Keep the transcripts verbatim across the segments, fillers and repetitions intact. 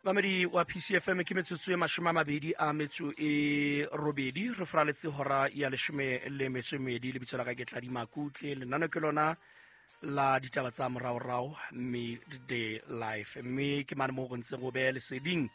Mamedi wa P C F M ke metsotso e mashome a mabedi a metso e robedi re fraletse hora ya leshome le metso e mmedi. Lebitso la ka ke Tladi Makutle, lenano ke lona la ditaba tsa moraorao Midday Life, mme ke mane moo re ntse go beha leseding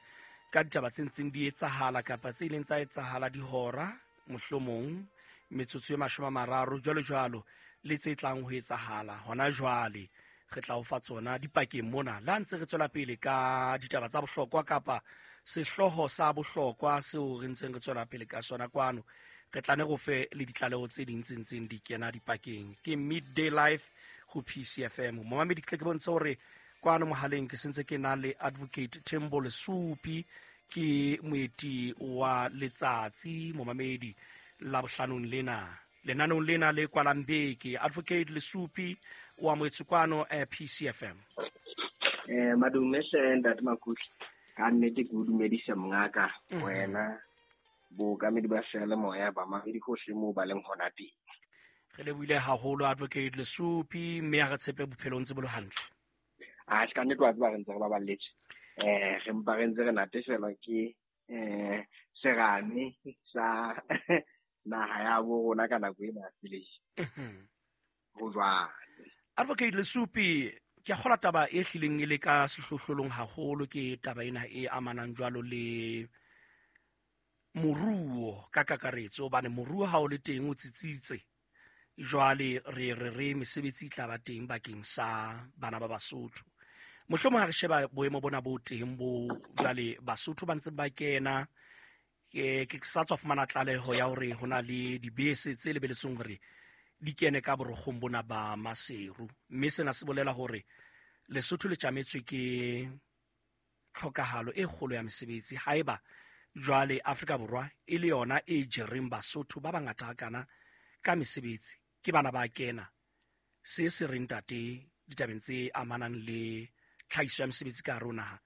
ka ditaba tse ntseng di etsahala kapa tse ileng tsa etsahala dihora mohlomong metsotso e mashome a mararo jwalo jwalo le tse tlang ho etsahala hona jwale. Re tla o fa tsona dipakeng mona la ntse re tswela pele ka ditaba tsa bohlokwa kapa sehlooho sa bohlokwa seo re ntseng re tswela pele ka sona kwano. Re tla ne go fe le ditlaleho tse ding tse ntseng di kena dipakeng. Ke Midday Life ho P C F M. Momamedi, ke tle ke bontshe hore kwano mohaleng ke sentse ke na le Advocate Thembo Lesupi, ke moeti wa letsatsi momamedi la bohlanong lena lenanong lena le kwalang beke. Advocate Lesupi wa moetsi kwano eh, P C F M. Eh madume hle ntate Makutle, ka nnete ke o dumedisa mongaka wena bookamedi ba seyalemoya ba mamedi hohle moo ba leng hona teng. Re lebohile haholo Advocate Lesupi, mme ha re tshepe bophelong tse bo le hantle. A ka nnete wa tseba re ntse re baballetse. Eh re mpa re ntse re natefelwa ke eh serame sa naha ya bo rona ka nako ena ya selemo. Ho jwale. Advocate Lesupi, ke a kgolwa taba e hlileng e le ka sehlohlolong haholo ke taba ena e amanang jwalo le moruo ka kakaretso, hobane moruo ha o le teng o tsitsitse. Jwale re re re mesebetsi e tla ba teng bakeng sa bana ba Basotho. Mohlomong ha re sheba boemo bona bo teng bo jwale Basotho ba ntse ba kena, ke ke sa tswa fumana tlaleho ya hore ho na le dibese tse lebeletsweng hore di kene ka borokgong bona ba Maseru, mme sena se bolela hore Lesotho le tjametswe ke tlhokahalo e kgolo ya mesebetsi. Haeba jwale Afrika Borwa e le yona e jereng Basotho ba bangata hakana ka mesebetsi, ke bana ba kena se se reng tate ditabeng tse amanang le tlhahiso ya mesebetsi ka hare ho naha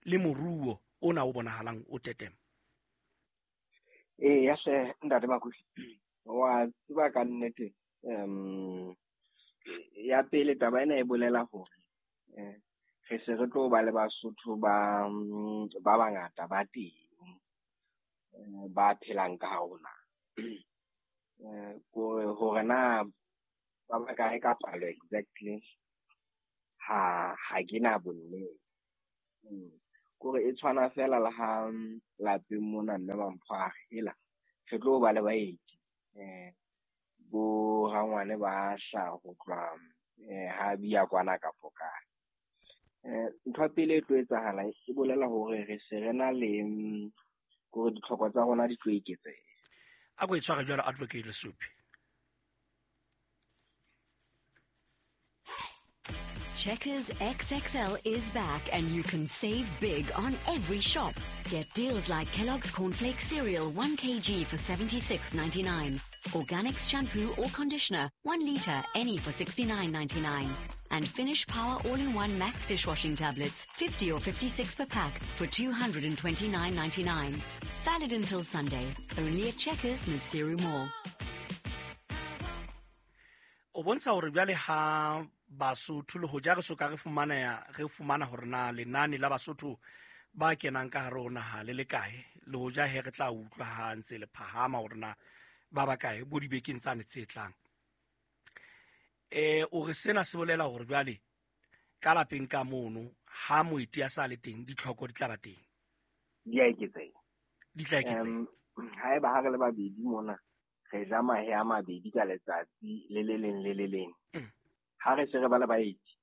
le moruo ona o bonahalang o tetema. Ee, ya hle ntate Makutle, wa tseba ka nnete um ya pele taba ena e bolela hore eh re se re tlo ba le Basotho ba ba bangata ba teng ba phelang ka hare ho naha. Eh kore hore na ba bakae ka palo exactly ha ha ke na bonnete. Kore e tshwana fela le ha lapeng mona mme Mampho a re hela re tlo ba le baeti eh bo rangwane ba hla ho tloha eh ha bia kwana kapo kae. Eh ntho ya pele e tlo etsahala e bolela hore re se re na le kore ditlhoko tsa rona di tlo eketseha. A ko e tshware jwalo Advocate Lesupi. Checkers X X L is back and you can save big on every shop. Get deals like Kellogg's Cornflakes cereal one kilogram for seventy-six ninety-nine, Organics shampoo or conditioner one litre any for sixty-nine ninety-nine, and Finish Power All-in-One Max dishwashing tablets fifty or fifty-six per pack for two hundred twenty-nine ninety-nine. Valid until Sunday. Only at Checkers, Maseru Mall. O bontsha hore jwale ha Basotho le hoja re soka re fumana ya re fumana hore na lenane la Basotho ba kenang ka hare ho naha le le kae, le hoja he re tla utlwa ha ntse le phahama hore na ba ba kae bo dibekeng tsane tse tlang. Eh o re sena se bolela hore jwale ka lapeng ka mono ha moeti a sa le teng ditlhoko di tla ba teng. Di a eketseha. Di tla eketseha. Haeba ha re le babedi mona re ja mahe a mabedi ka letsatsi le le leng le le leng. Ha re se re ba le baeti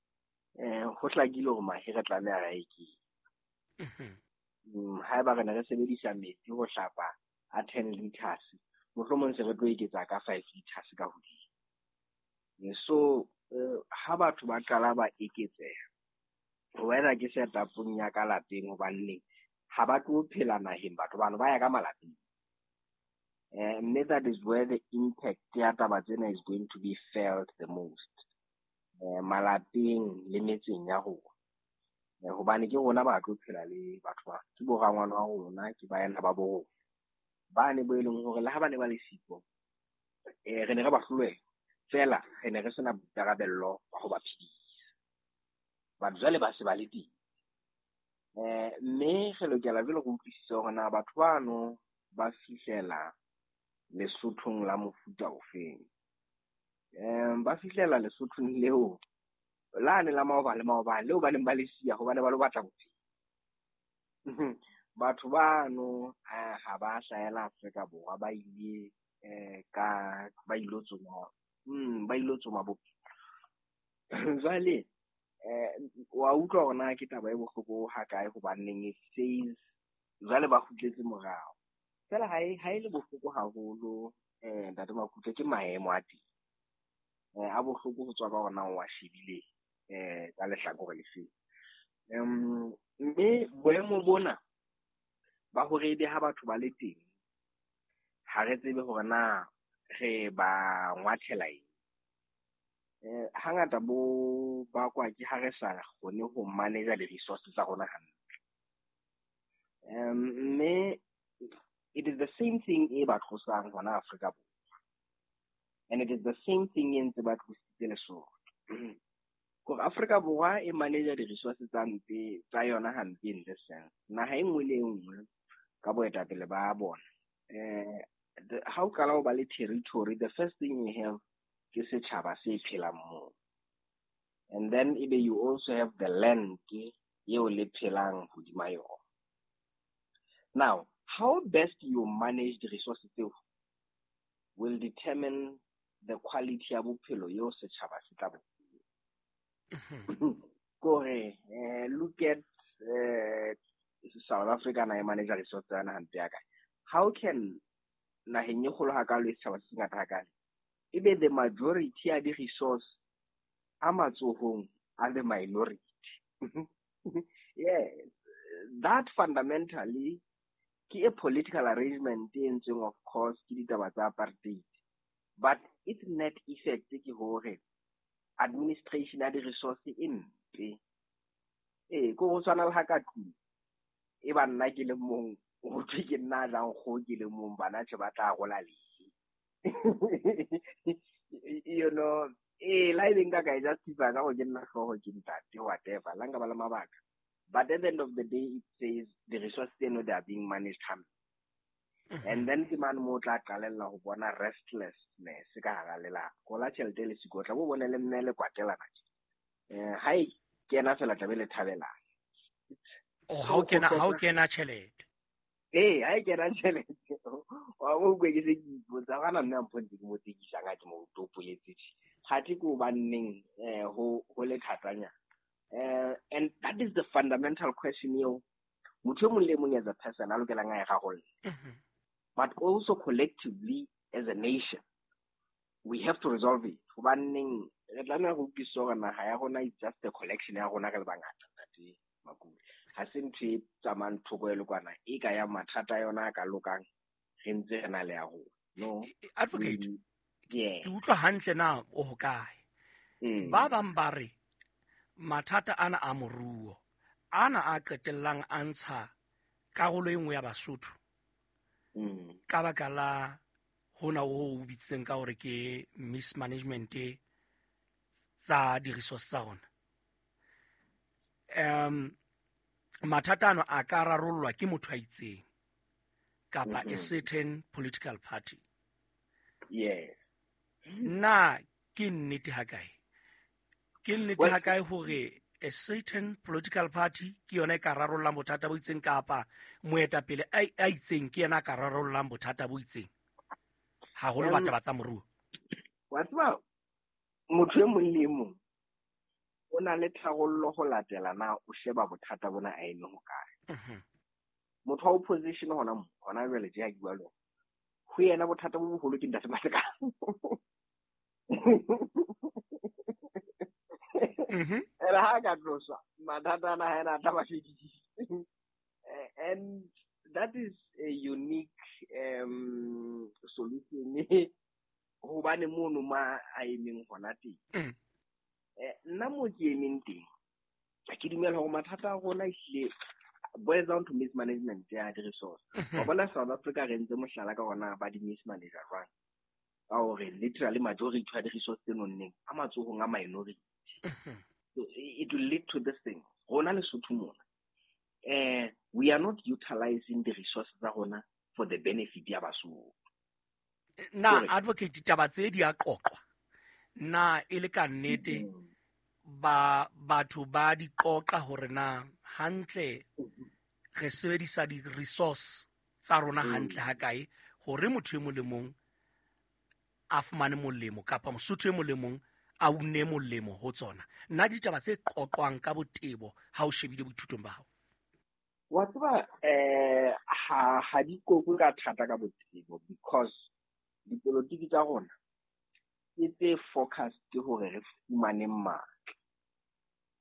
eh ho hlakile hore mahe re tlameha re a eketse. Haeba re ne re sebedisa metsi ho hlapa a ten liters, mohlomong se re tlo eketsa ka five liters ka hodimo. So ha batho ba qala ba eketseha, wena ke setupong ya ka lapeng hobane ha ba tlo phela naheng, batho bano ba ya ka malapeng. Eh mme that is where the impact ya taba tsena is going to be felt the most. Eh malapeng le metseng ya rona. Eh hobane ke rona ba tlo phela le batho ba, ke bo rangwane wa rona, ke baena ba bo rona. Ba ne bo e leng hore le ha ba ne ba le siko, eh re ne re ba hloleha fela, re ne re sena boikarabello ba ho ba phedisa. Batho jwale ba se ba le teng. Eh, mme re lokela jwale re utlwisise hore na batho bano ba fihlela Lesothong la mofuta ofeng. Um ba fihlela Lesothong leo lane la maobane le maobane leo ba neng ba le siya hobane ba lo batla bophelo. Batho bano ha ba hlahela Afrika Borwa, ba ile eh ka ba ilo tsoma mm ba ilo tsoma bophelo. Jwale eh wa utlwa hore na ke taba e bohloko hakae, hobaneng it says jwale ba kgutletse morao. Fela ha e ha e le bohloko haholo, eh Ntate Makutle, ke maemo a teng. Eh a bohloko ho tswa ka hore na o wa shebile eh ka lehlakore le feng. Um mme boemo bona ba hore ebe ha batho ba le teng, ha re tsebe hore na re ba ngwathela eng. Eh hangata bo bakwa ke ha re sa kgone ho manage di-resources tsa rona hantle. Um mme it is the same thing e ba tlosang hona Afrika Borwa, and it is the same thing e ntse ba tlositse Lesotho. Kore Afrika Borwa e manage di-resources tsa mpe tsa yona hampe in this sense. Naha e nngwe le e nngwe ka boetapele ba bona, eh ha o qala ho ba le territory, the first thing you have ke setjhaba se phelang moo, and then ebe you also have the land eo le phelang hodima yona. Now, how best you manage the resources tseo will determine the quality ya bophelo eo setjhaba se tla bo. Kore eh, look at eh, South Africa na e manage resources tsa yona hampe ya kae. How can naheng e kgolo hakalo e setjhaba se sengata hakale, ebe the majority ya di-resource a matsohong a the minority? Yes, that fundamentally ke a political arrangement e entsweng, of course, ke ditaba tsa apartheid, but its net effect ke hore administration ya di-resource e mpe. Ee, ko go tshwana le ha ka tlung e ba nna ke le mong, ho thwe ke nna a jang kgoho ke le mong, bana tjhe ba tla rola lehe. You know, ee, la ebe nka ka e justify ka gore ke nna hlooho, ke ntate, whatever, la nka ba le mabaka, but at the end of the day it says the resources tseno, they are being managed hampe. And then ke mane mo o tla qalella ho bona restlessness ka hara lelapa, ko la tjhelete le siko tla bo bone le mme le kwatelana tje. Eh ha e kena fela tla be le thabelana. Oh, ha o kena, ha o kena tjhelete. Ee, ha e kena tjhelete, wa bo utlwe ke se ke ipotsa gana mme a mpontse ke mo tekisang ha ke mo topoletse tje. Kgathe ke hobanneng eh ho ho le thatanyana. Eh and that is the fundamental question eo motho e mong le mong as a person a lokelang a e rarolle. But also collectively as a nation, we have to resolve it. Hobaneng re tlameha ho utlwisisa hore naha ya rona is just a collection ya rona re le bangata, Ntate Makule. Ha se ntho e tsamayang thoko e le kwana, e ka ya mathata a yona a ka lokang re ntse re na le ya rona. No. Advocate, Yeah. ke utlwa hantle na o hokae? Mm. Ba bang ba re mathata ana a moruo ana a qetellang a ntsha karolo e nngwe ya Basotho Mm. ka baka la hona o o bitsitseng ka hore ke mismanagement tsa di-resource tsa rona. Um mathata ano a ka rarollwa ke motho a itseng kapa a Mhm. certain political party. Yes. Na ke nnete hakae? Ke nnete Well- hakae hore a certain political party ke yona e ka rarollang bothata bo itseng, kapa moetapele a a itseng ke yena a ka rarollang bothata bo itseng, haholo Um, ba taba tsa moruo? Wa tseba, motho e mong le e mong o na le tharollo ho latela na o sheba bothata bona a eme hokae. Mhm. Motho wa opposition hona mo, hona jwale tje ha ke bua le wena, ho yena bothata bo boholo ke Ntate Matekane. Mhm. Ene ha ka tloswa, mathata ana ha ena a tla ba fedisitse. Eh, and that is a unique um solution hobane mono ma a emeng hona teng. Mm. Eh, nna mo ke emeng teng, ke dumela hore mathata a rona ehlile boils down to mismanagement ya di-resource. Wa bona South Africa re ntse mohlala ka hona ba di-mismanager jwang, ka hore literally majority ya di-resource tse nonneng a matsohong a minority. Mhm. So it will lead to this thing. Rona Lesotho mona, eh we are not utilizing the resources tsa rona for the benefit ya Basotho. Na advocate ditaba tse di a qoqwa na e le ka nnete ba batho ba di qoqa hore na hantle re sebedisa di resource tsa rona hantle ha kae hore motho e mong le mong a fumane molemo kapa Mosotho e mong le mong a une molemo ho tsona. Nna ke ditaba tse qoqwang ka botebo ha o shebile boithutong ba hao. Wa tseba eh ha ha di qoqwe ka thata ka botebo because dipolotiki tsa rona ke tse focused hore re fumane matla.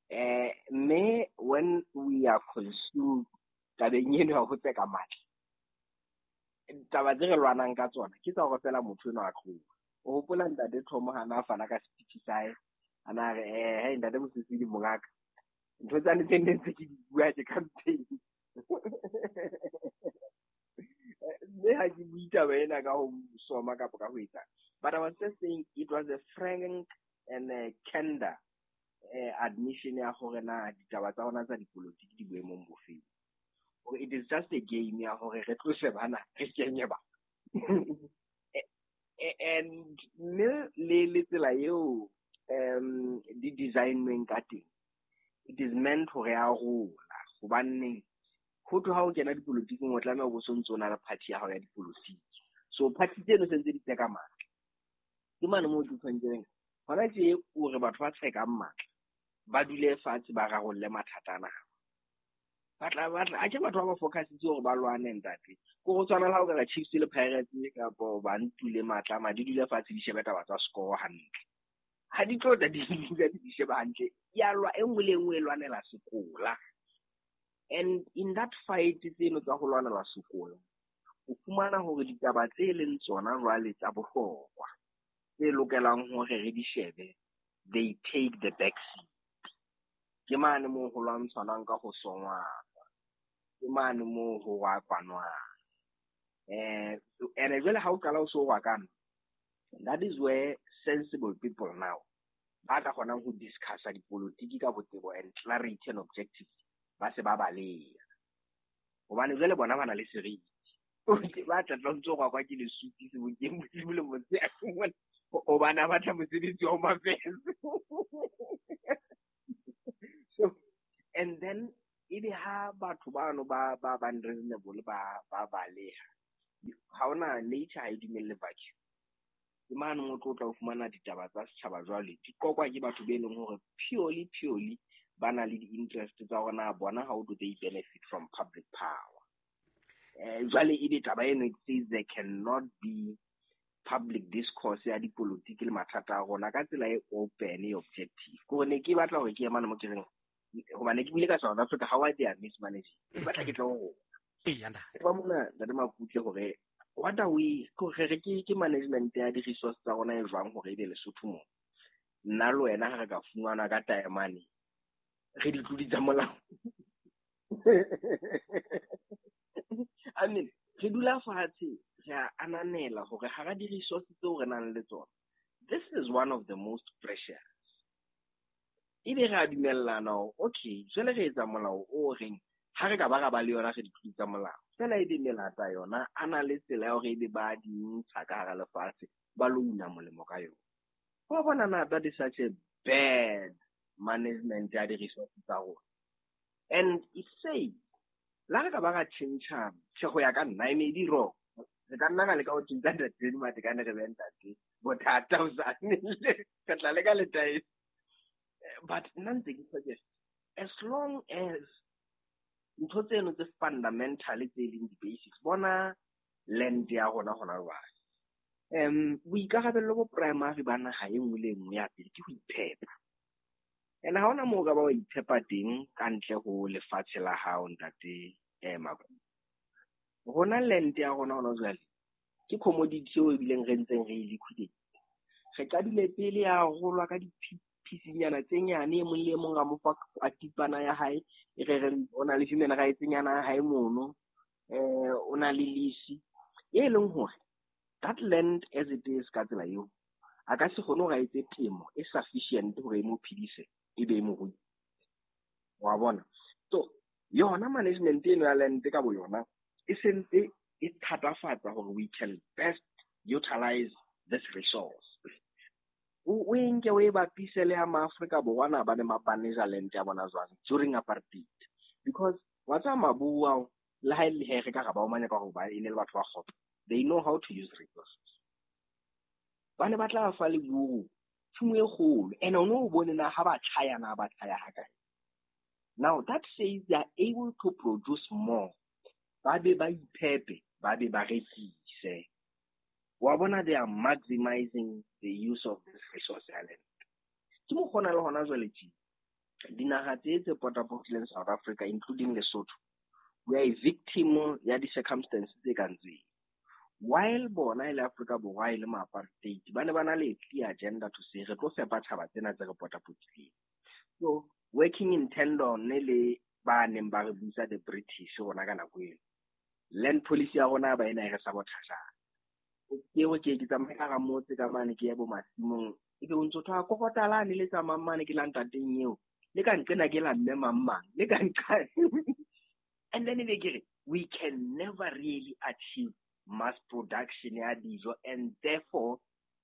Eh mme when we are consumed tabeng eno ya ho tseka matla, taba tse re lwanang ka tsona ke tsa hore fela motho eno a tloha. O hopola ntate Thomo ha na fana ka speech sa hae, a na re eh hey ntate Mosisili mongaka, ntho tsane tse nne ntse ke di bua ke campaign. Mme ha ke bue taba ena ka ho soma kapa ka ho etsang, but I was just saying it was a frank and a candor eh, admission ya hore na ditaba tsa rona tsa dipolotiki di boemong bofeng. Hore it is just a game ya hore re tlose bana re kenye ba. And mme le le tsela eo um di designweng ka teng, it is meant hore ya rola. Hobaneng ho tloha ho kena dipolotiking o tlameha ho bo sontso o na le party ya hao ya dipolotiki. So party tseno se ntse di tseka matla. Ke mane moo ke tshwanetseng hona tje o re batho ba tsekang matla ba dule fatshe ba rarolle mathata ana. Batla batla a ke batho ba ba focusitse hore ba lwane ntate. Ko go tshwana le ha o ka re Chiefs le Pirates kapo ba ntule matla ma di dule fatshe di shebe taba tsa score hantle. Ha di tlo tla di dula di sheba hantle. Ya lwa e nngwe le e nngwe e lwanela sekola. And in that fight tseno tsa ho lwanela sekola, o fumana hore ditaba tse leng tsona jwale tsa bohlokwa tse lokelang hore re di shebe, they take the back seat. Ke mane moo ho lwantshanang ka ho songwana, ke mane moo ho rakwanwang. Eh, and jwale ha o qala o so rakana, that is where sensible people now ba ka kgonang ho discussa dipolotiki ka botebo and clarity and objective ba se ba baleha. Hobane jwale bona ba na le seriti. Ba tla tla ntso kwa ke lesupi sebokeng bosibu le motshehare, hobane ba batla mosebetsi wa Home Affairs. So, and then ebe ha batho bano ba ba ba unreasonable ba ba baleha, ha hona nature ha e dumelle vacuum. Ke mane mo tlo tla o fumana ditaba tsa setjhaba jwale di qoqwa ke batho be leng hore purely purely ba na le di-interest tsa hore na bona how do they benefit from public power. Eh, jwale ebe taba eno it says there cannot be public discourse ya dipolotiki le mathata a rona ka tsela e open e objective. Ke hore ne ke batla hore ke ye mane mo ke reng, hobane ke buile ka South Africa, how are they mismanaging? Ke batla ke tle ho rona. Eya, ntate. Ke ba mona ntate Makutle hore what are we, ke hore re ke, ke management ya di-resource tsa rona e jwang hore ebe Lesotho mo. Nna le wena ha re ka fumana ka taemane, re di tlodi tsa molao. I mean, re dula fatshe, re a ananela hore hara di-resource tseo re nang le tsona, this is one of the most precious. Ebe re a dumellana hore, okay, jwale re etsa molao o reng ha re ka ba ra ba le yona re di tlodi tsa molao. Fela ebe melata yona a na le tsela ya hore ebe ba di ntsha ka hara lefatshe, ba lo una molemo ka yona. Wa bona na that is such a bad management ya di-resource tsa rona. And it says, la re ka ba ra tjhentjha, tjhe ho ya ka nna, e may be wrong. Re ka nna ra leka ho tjhentjha ntate Matekane re be ntate bothata hosane. Re tla leka letaese. But nna ntse ke suggest, as long as ntho tseno tse fundamental tse leng di-basics, bona land ya rona hona jwale. Um, boikarabello bo primary ba naha e nngwe le e nngwe ya pele ke ho iphepa. And ha hona moo o ka ba wa iphepa teng ka ntle ho lefatshe la hao ntate, eh, Makutle. Rona land ya rona hona jwale ke commodity eo ebileng re ntseng re e liquidate. Re qadile pele ya rolwa ka di-piecenyana tse nyane, e mong le e mong ra mo fa a tipana ya hae, e re re o na le human rights nyana ya hae mono, eh, o na le lease e leng hore that land as it is ka tsela eo a ka se kgone hore a etse temo e sufficient hore e mo phedise e be e mo rui. Wa bona? So Yona management eno ya land ka bo yona e sentse e thatafatsa hore we can best utilize this resource. O e nke o e bapise le ya maAfrika Borwa na ba ne ba manage land ya bona jwang during apartheid. Because wa tseba Maburu ao le ha e le he re ka ra ba omanya ka hore ba e ne le batho ba kgopo, they know how to use resources. Ba ne ba tla fa leburu tshimo e kgolo, and o no bone na ha ba tjhaya na ba tjhaya ha kae. Now that says they are able to produce more. Ba be ba iphepe, ba be ba rekise. Wa bona they are maximizing the use of this resource island. Ke mo kgona le hona jwale tje. Dinaha tse tse potapotileng South Africa, including Lesotho, we are a victim ya di-circumstances tse kang tseo. While bona e le Afrika Borwa e le ma-apartheid, ba ne ba na le clear agenda to say re tlo fepa tjhaba tsena tse re potapotileng. So working in tandem le ba neng ba re busa the British rona ka nako eno, land policy ya rona ba ena e re sabotage. Ke o ke ke tsamaya ka hara motse ka mane ke ya bo masimong, ebe o ntso thwa kokotalane le tsamayang mane ke la ntateng eo, le ka nqena ke la mme mang mang, le ka nqa. And then ebe ke re we can never really achieve mass production ya dijo and therefore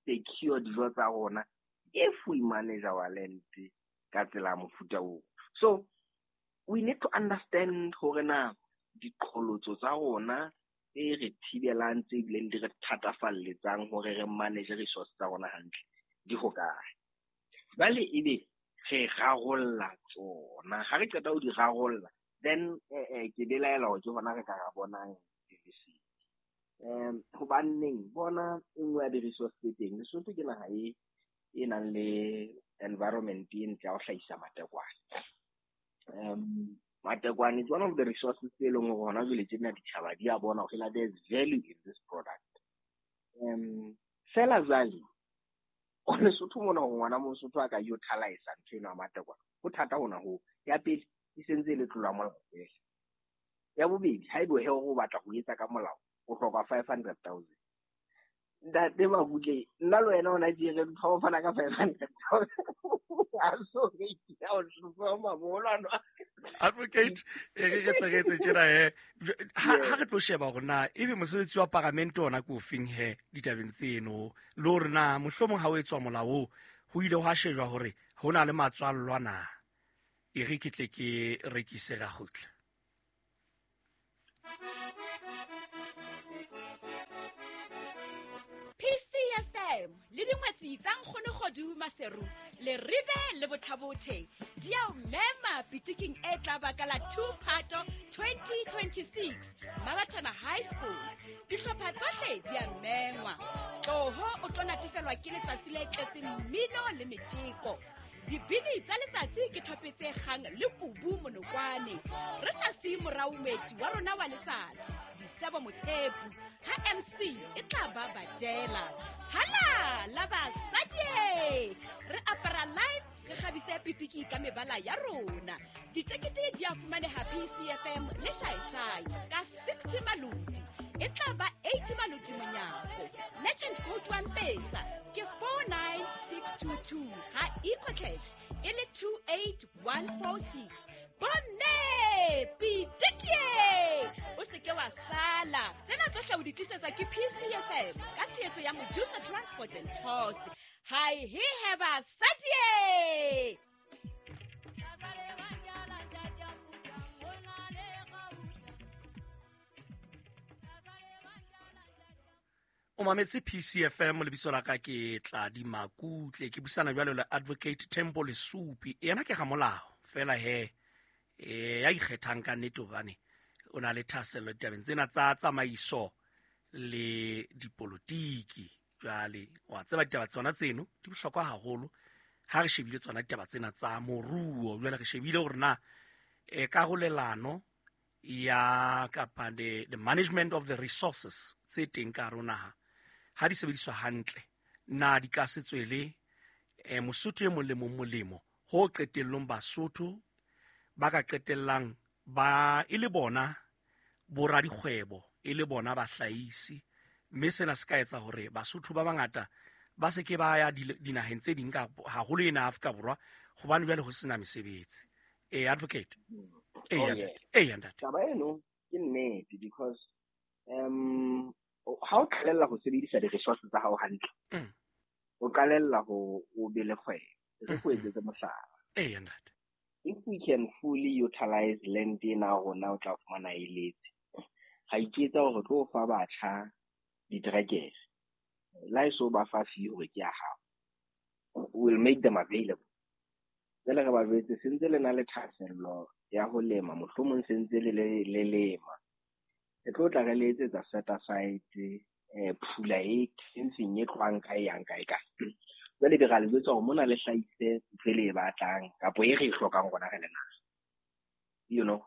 secure dijo tsa rona if we manage our land ka tsela ya mofuta oo. So we need to understand hore na diqholotso tsa rona tse re thibelang, tse bileng di re thatafalletsang hore re manage resource tsa rona hantle di hokae. Jwale ebe re rarolla tsona, ha re qeta ho di rarolla, then eh, ke belaela hore ke hona re ka ra bonang lesedi. Um hobaneng bona e nngwe ya di-resource tse teng, Lesotho ke naha e e nang le environment e ntle ya ho hlahisa matekwane. Um matekwane is one of the resources tse leng hore hona jwale tjena ditjhaba di a bona hore there's value in this product. Um fela jwale o Lesotho mona hore ngwana Mosotho a ka utilize ntho eno ya matekwane, ho thata hona hoo. Ya pele e sentse e le tlolo ya molao fela. Ya bobedi, haebe he o batla ho etsa ka molao, o hloka five hundred thousand. Ntate Makutle, nna le wena hona tje re ntho ho fana ka five hundred thousand. Advocate, e re re tle re etse tjena he. Ha ha re tlo sheba hore na ebe mosebetsi wa paramente ona ke ofeng he ditabeng tseno, le hore na mohlomong ha o etswa molao oo, ho ile hwa shejwa hore ho na le matswallwa na. E re ke tle ke rekise ra kgutla. P C F M le dingwetsi tsa Nkgono Kgodu Maseru le Ribe le Bothabothe di a o mema pitiking e tla ba ka la two Phato twenty twenty-six Mabatana High School. Dihlopha tsohle di a mengwa. Tloho o tlo natefelwa ke letsatsi le tletseng mmino le metjeko. Dibini tsa letsatsi ke thope tse kgang le kubu monokwane. Re sa siye morao moeti wa rona wa letsatsi, Disebo Mothepu, ha M C e tla ba badela. Hala la basadi! Re apara live, re kgabise pitiki ka mebala ya rona. Ditekete di a fumaneha P C F M le Shaishai ka sixty maloti. E tla ba eighty maloti monyako. Legend code wa Mpesa ke four nine six two two, ha EcoCash e le two eight one four six. Bomme pitikie, o se ke wa sala. Tsena tsohle o di tlisetswa ke P C F M ka tshehetso ya Mojusa Transport and Tours. Hi he he basadi! O mametse P C F M, lebitso la ka ke Tladi Makutle, ke buisana jwalo le Advocate Thembo Lesupi. Yena ke ramolao fela he e ya ikgethang ka nnete hobane o na le thahasello ditabeng tsena tsa tsamaiso le dipolotiki. Jwale wa tseba ditaba tsona tseno di bohlokwa haholo ha re shebile tsona ditaba tsena tsa moruo. Jwale re shebile hore na e karolelano ya kapa the, the management of the resources tse teng ka hare ho naha ha di sebediswa hantle, na di ka se tswele eh, Mosotho e mong le mong molemo, ho qetellong Basotho ba ka qetellang ba e le bona boradikgwebo, e le bona bahlahisi, mme sena se ka etsa hore Basotho ba bangata ba se ke ba ya dinaheng tse ding ka haholo ena Afrika Borwa, hobane jwale ho sena mesebetsi. Eh, Advocate. Eya ntate. Taba eno ke nnete because um ha o qalella ho sebedisa di-resources tsa hao hantle, o qalella ho o be le kgwebo. Re go etsetse mohlala. Eya ntate. If we can fully utilize land ena rona o tla fumana e letse. Ga iketsa hore tlo fa batjha diterekere. La eso ba fa fee hore ke ya hao. We'll make them available. Jwale re ba jwetse sentse le na le thahasello ya ho lema, mohlomong sentse le le lema. Re tlo tla re le etsetsa set aside eh phula e fencing e tlohang kae yang kae kae. Jwale be ra le jwetsa hore mona le hlahise ntho e le e batlang kapo e re e hlokang rona re le naha. You know,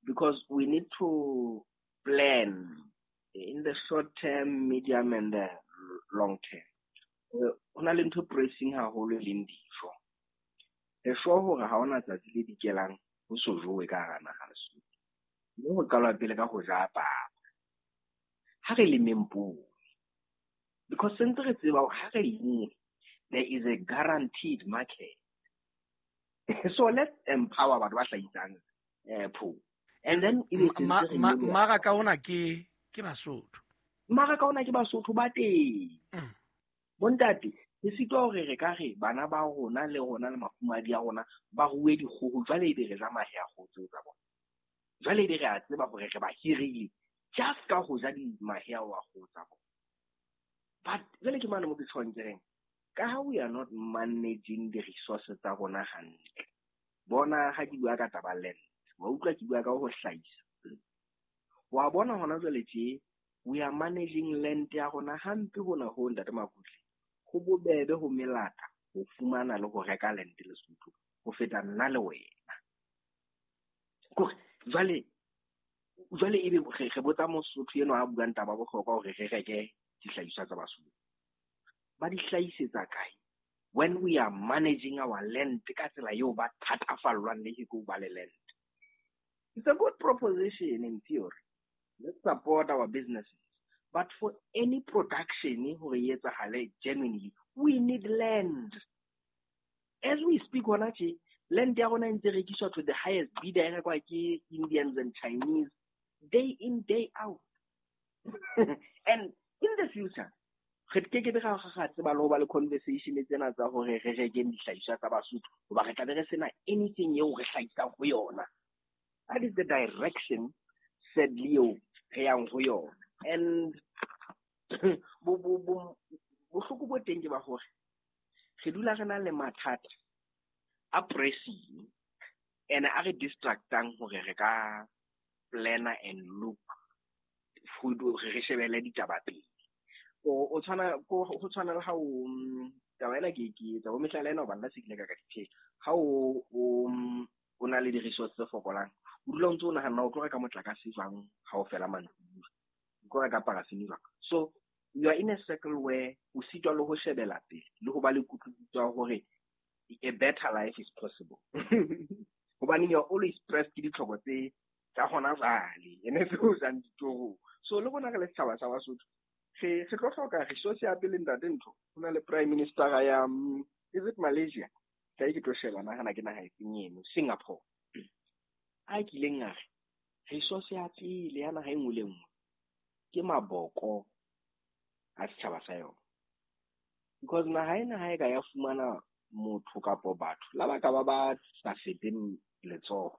because we need to plan in the short term, medium and the long term. Ho na le ntho pressing haholo e leng dijo. Re sure hore ha hona tsatsi le dikelang ho so jowe ka hara naha Lesotho. Mme ho qalwa pele ka ho ja papa. Ha re lemeng poone. Because sentse re tseba hore ha re lemme, there is a guaranteed market. So let's empower batho ba hlahisang eh poone. And then mmaraka ona ke ke Basotho. Mmaraka ona ke Basotho ba teng. Bontate, re sitwa hore re ka re bana ba rona le rona le mafumadi a rona ba rue dikgoho jwale ebe re ja mahe a kgoho tseo tsa bona. Jwale ebe re a tseba hore re ba hirile just ka ho ja mahe ao a kgoho tsa bona. But jwale ke mane mo ke tshwang ke reng, ka ha we are not managing the resources tsa rona hantle. Bona ha ke bua ka taba land, wa utlwa ke bua ka ho hlahisa. Wa bona hona jwale tje, we are managing land ya rona hampe hona ho ntate Makutle. Ho bobebe ho melata ho fumana le ho reka land Lesotho ho feta nna le wena. Kore jwale jwale ebe re botsa Mosotho eno a buang taba bohlokwa hore re reke dihlahiswa tsa Basotho. Ba di hlahisetsa kae? When we are managing our land ka tsela eo ba thatafallwang le ke ho ba le land. It's a good proposition in theory. Let's support our businesses. But for any production hore e etsahale genuinely, we need land. As we speak hona tje, land ya rona e ntse rekiswa to the highest bidder, e rekwa ke Indians and Chinese day in, day out. And in the future, re ke ke be ra ga tseba le ho ba le conversation tsena tsa hore re rekeng dihlahiswa tsa Basotho, hoba re tla be re sena anything eo re hlahisang ho yona. That is the direction, sadly, eo re yang ho yona. And bo bo bo bohloko bo teng ke ba hore re dula re na le mathata a pressing and a re distractang hore re ka planner and look hore re shebele ditaba pele. O o tshwana ko ho tshwana le ha o taba ena ke ke etsa bo mehlala ena hobane nna se kile ka ka diphela. Ha o o o na le di-resource tse fokolang, o dula o ntse o nahana o tlo reka motlakase jwang ha o fela mantsibuya, o tlo reka parafini jwang. So you are in a circle where o sitwa le ho shebela pele le ho ba le kutlwisiso ya hore a better life is possible. Hobane you are always pressed ke ditlhoko tse tsa hona jwale, ene tse o jang ditorong. So le rona re le setjhaba sa Basotho, re re tlo hloka resource ya pele ntate ntho. Ho na le prime minister ya is it Malaysia? Ka ke tlo sheba nahana ke naha efeng eno, Singapore. A kileng a re resource ya pele ya naha e nngwe le nngwe ke maboko a setjhaba sa yona. Because naha ena ha e ka ya fumana motho kapo batho la ba ka ba ba sa feteng letsoho,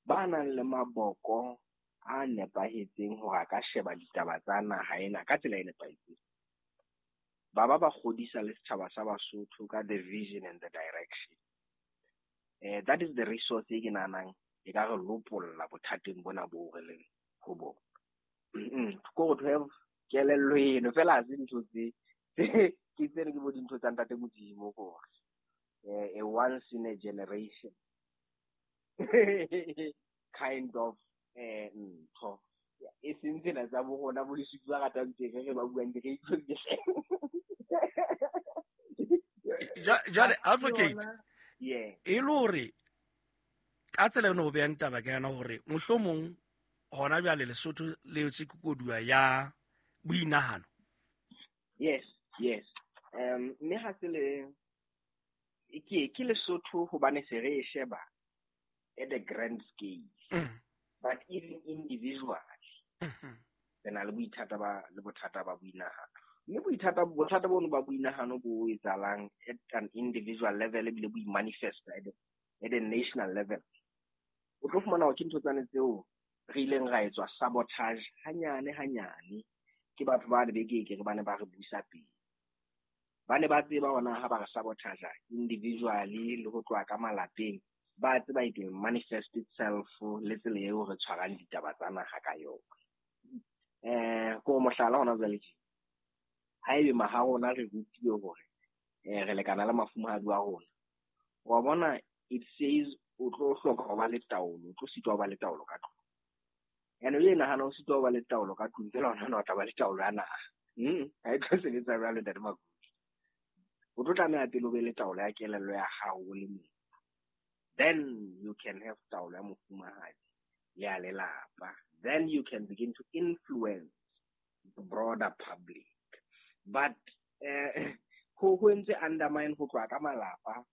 ba nang le maboko a nepahetseng hore a ka sheba ditaba tsa naha ena ka tsela e nepahetseng, ba ba ba kgodisa le setjhaba sa Basotho ka the vision and the direction. Eh, that is the resource e ke nahanang e ka re lopolla bothateng bona bo re leng ho bona. Ko to have kelello eno fela ha se ntho tse ke tsene ke bo dintho tsa ntate Modimo gore a once in a generation kind of eh ntho e seng tsena tsa bo rona bo Lesotho ba ratang teng re ba buang ke re itlhoke. Jwale advocate, yeah, e le hore ka tsela eno o behang taba ka yona hore mohlomong hona jwale Lesotho le tse koduwa ya boinahano. Yes, yes. Um mme ha se le ke ke Lesotho hobane se re e sheba at a grand scale, mm. but even individually, mm-hmm. re na le boithata ba le bothata ba boinahano. Mme boithata bothata bono ba boinahano bo etsahalang at an individual level ebile bo manifest at a, at a national level. O tlo fumana hore ke ntho tsane tseo re ileng ra etswa sabotage hanyane hanyane ke batho ba le bekeke re bane ba re busa pele. Ba ne ba tseba hona ha ba re sabotage individually le ho tloha ka malapeng, ba tseba it will manifest itself le tsela eo re tshwarang ditaba tsa naha ka yona. Eh ko mohlala hona jwale tje, haebe maha rona re rutile hore eh re lekana le mafumahadi wa rona, wa bona it says o tlo hloka ho ba le taolo, o tlo sitwa ho ba le taolo ka tlung. Ene o nahana o sitwa ho ba le taolo ka tlung, fela o nahana o tla ba le taolo ya naha. Mm, ha e tlo sebetsa jwalo, Ntate Makuti. O tlo tlameha pele o be le taolo ya kelello ya hao o le mong. Then you can have taolo ya mofumahadi le ya lelapa. Then you can begin to influence the broader public. But eh ho ho ntse undermine ho tloha ka malapa.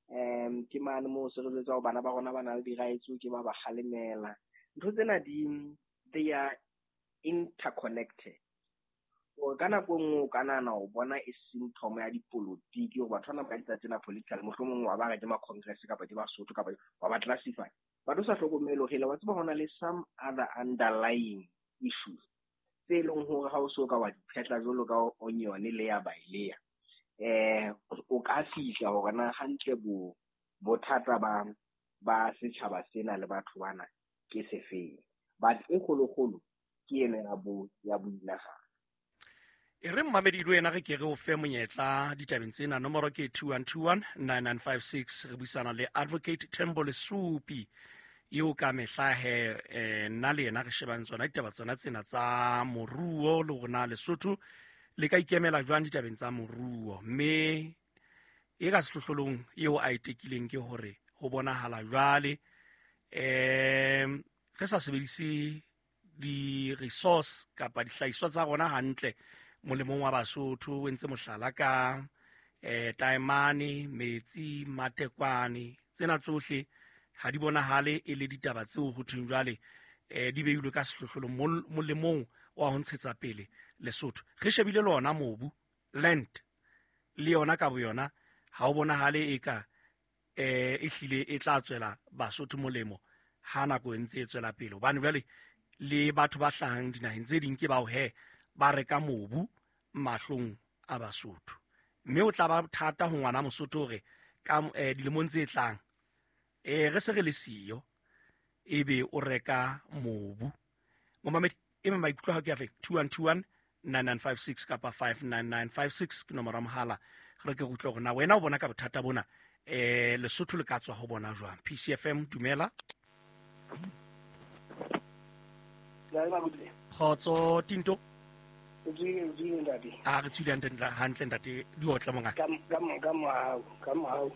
Um ke mane moo se re jwetsa hore bana ba rona ba na le di-rights, ke ba ba kgalemela. Ntho tsena di they are interconnected. O ka nako e nngwe o ka nahana o bona e symptom ya dipolotiki hore batho bana ba etsa tsena political, mohlomong wa ba re ke ma-congress kapa ke Basotho kapa wa ba classify. But o sa hlokomele hore wa tseba hona le some other underlying issues tse leng hore ha o so ka wa di phetla jwalo ka onion layer by layer, eh o ka fihla hore na hantle bo bothata ba ba setjhaba sena le batho bana ke sefeng. But e kgolokgolo ke ena ya bo ya boinahano. E re mmamedi le wena re ke re o fe monyetla ditabeng tsena. Nomoro ke two one two one nine nine five six. Re buisana le Advocate Thembo Lesupi eo ka mehla he eh, nna le yena re shebang tsona ditaba tsona tsena tsa moruo le hore na Lesotho le ka ikemela jwang ditabeng tsa moruo. Mme e ka sehlohlolong eo a e tekileng ke hore ho bonahala jwale em re sa sebedise di-resource kapa dihlahiswa tsa rona hantle molemong wa Basotho. O entse mohlala ka eh taemane, metsi, matekwane, tsena tsohle ha di bonahale e le ditaba tseo ho thweng jwale eh di beilwe ka sehlohlolong molemong wa ho ntshetsa pele Lesotho. Re shebile le ona mobu, land, le yona ka boyona ha o bonahale e ka eh e hlile e tla tswela Basotho molemo ha nako e ntse e tswela pele, hobane jwale le batho ba hlahang dinaheng tse ding ke bao he ba reka mobu mahlong a Basotho. Mme o tla ba thata ho ngwana Mosotho hore ka eh, dilemong tse tlang eh re se re le siyo ebe o reka mobu. Momamedi e maikutlo ha ke a fe two one two one nine nine five six kapa five nine nine five six ke nomoro ya mohala. Re ke utlwe hore na wena o bona ka bothata bona eh Lesotho le ka tswa ho bona jwang. P C F M, dumela. Kgotso Tinto. A re tswile hantle ntate, di otla mongaka. Ka ka mohau, ka mohau.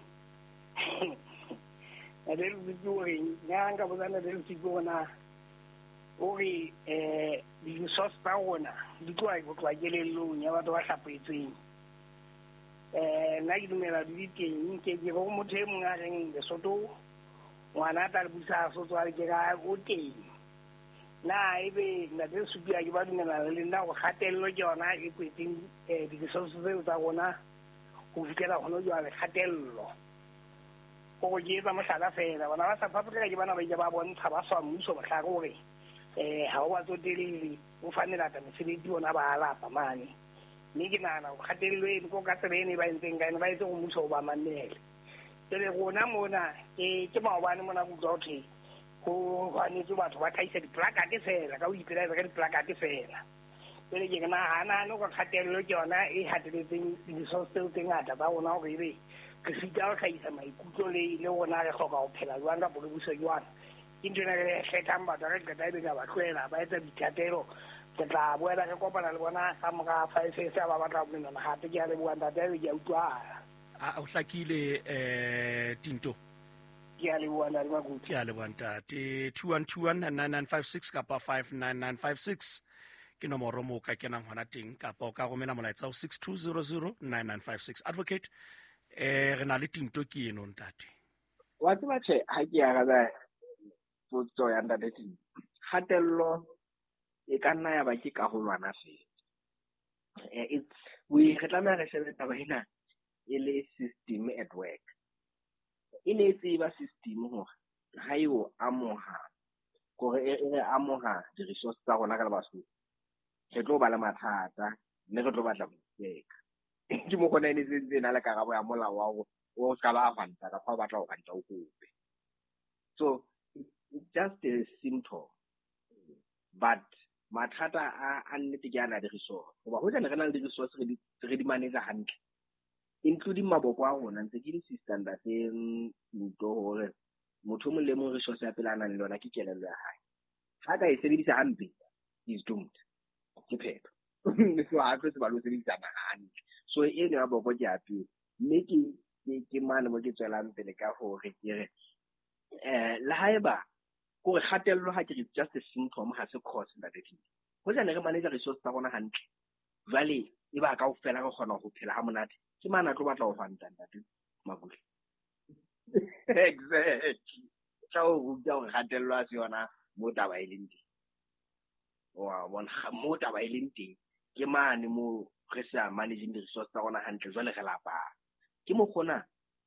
Ntate Lesupi o reng, nna nka botsa Ntate Lesupi hore na o re eh di-resource tsa rona di tloha ho tloha kelellong ya batho ba hlapetsweng. Eh nna ke dumela di teng, ke ke go motho e mong a reng Lesotho ngwana a tla le busa Sotho a ke ka o teng. Na ebe Ntate Lesupi a ke ba dumela le nna go kgatello ke yona e kwetseng eh di-resource tseo tsa rona ho fihlela hona jwale, kgatello. Go ke etsa mohlala fela, bona ba South Africa ke bana ba ile ba bontsha ba swa mmuso mohlare hore eh ha o ba tsotelle o fa melata mesebetsi bona ba alapa mane. Mme ke nahana hore kgatello eno ko ka tsela eno e ba entseng ka yona, ba etse hore mmuso o ba mamele. Jwale rona mona ke ke maobane mona ke utlwa ho thwe ho hwanetswe batho ba tlhahisa diplakate fela, ka ho ipelaetsa ka diplakate fela. Jwale ke nahana hore kgatello ke yona e hateletseng di-resource tseo tse ngata tsa rona hore ebe re sita ho hlahisa maikutlo le le rona re hloka ho phela jwang kapa re buswe jwang. Ke ntho ena re kgethang batho, re qeta ebe ka ba tlohela ba etsa boithatelo. Ke tla boela re kopana le bona ka mora five years ba batla ho menwana hape. Ke a leboha ntate, ebe ke a utlwahala. A o hlakile eh Tinto. Ke a leboha ntate Makuti. Ke a leboha ntate. two one two one nine nine five six kapa five nine nine five six ke nomoro moo o ka kenang hona teng, kapa o ka romela molaetsa ho six two zero zero nine nine five six. Advocate, eh re na le Tinto ke eno ntate. Wa tseba tjhe, ha ke araba potso ya ntate Timi, kgatello e ka nna ya ba ke karolwana fela. Eh, it's we re tlameha re shebe taba ena e le system at work. E ne e tseba system hore ha e o amoha, kore e re amoha di-resource tsa rona ka le Basotho, re tlo ba le mathata mme re tlo batla ho itseka. Ke mo kgona e ne sentse e na le karabo ya molao wa hore o ska ba hwanta kapa o batla ho hwanta o kope. So it's just a symptom, but mathata a a nnete ke ana di-resource. Hoba hoja ne re na le di-resource re di re di manage hantle, including maboko a rona, ntse ke insista ntate Nto hore motho o mong le mong resource ya pele a nang le yona ke kelello ya hae. Ha ka e sebedisa hampe, is doomed. Ke phetho. So ha tlo tseba le ho sebedisa hantle. So eno ya boko ke ya pele. Mme ke ke ke mane mo ke tswelang pele ka hore ke re eh le haeba kore kgatello ha ke re just a symptom, ha se cause ntate Timi. Hoja ne re manage resource tsa rona hantle, jwale e ba kaofela re kgona ho phela ha monate. Ke mane a tlo batla ho hwanta ntate Makutle. Exactly. Tla o ruta hore kgatello ha se yona mo taba e leng teng. Wa bona mo taba e leng teng ke mane mo re sa managing di-resource tsa rona hantle, jwale re lapa. Ke mokgona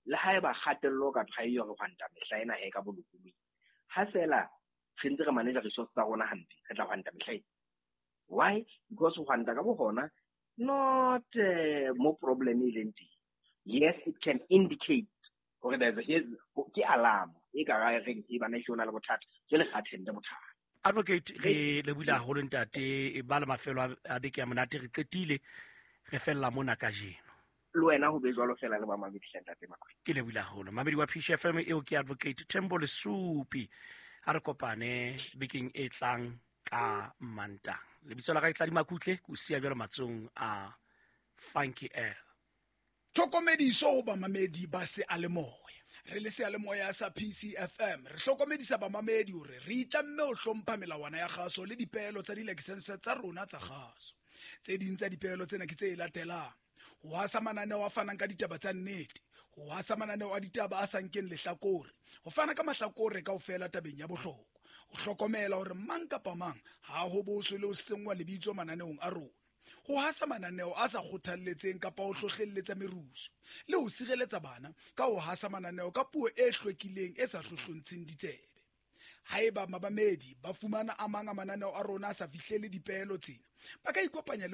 le haeba kgatello ka ha eyo re hwanta mehla ena he ka bolokolohi. Ha fela re ntse re manage resource tsa rona hampe, re tla hwanta mehla ena. Why? Because ho hwanta ka bohona not uh, mo problem e leng teng. Yes, it can indicate hore there's a here's ke alarm e ka ra reng e bana e na le bothata, jwale re attend bothata. Advocate, re lebohile haholo ntate, e ba le mafelo a beke ya monate, re qetile re fella mona kajeno. Le wena ho be jwalo fela le ba mamedi hle ntate Makwele. Ke lebohile haholo. Mamedi wa P C F M eo ke Advocate Thembo Lesupi. Ha re kopane bekeng e tlang ka Mantaha. Lebitso la ka ke Tladi Makutle, ke o siya jwalo matsohong a Funky L. Tlhokomediso ho bamamedi ba seyalemoya. Re le seyalemoya sa P C F M re hlokomedisa bamamedi hore re itlamme ho hlompha melawana ya kgaso le dipeelo tsa dilakesense tsa rona tsa kgaso. Tse ding tsa dipeelo tsena ke tse latelang: ho hasa mananeo a fanang ka ditaba tsa nnete, ho hasa mananeo a ditaba a sa nkeng lehlakore, ho fana ka mahlakore kaofela tabeng ya bohlokwa, ho hlokomela hore mang kapa mang ha ho boswe le ho senngwa lebitso mananeong a rona, ho hasa mananeo a sa kgothalletseng kapa ho hlohlelletsa merusu, le ho sireletsa bana ka ho hasa mananeo ka puo e hlwekileng e sa hlohlontsheng ditsebe. Haeba mabamedi ba fumana a mang a mananeo a rona a sa fihlele dipeelo tsena, ba ka ikopanya le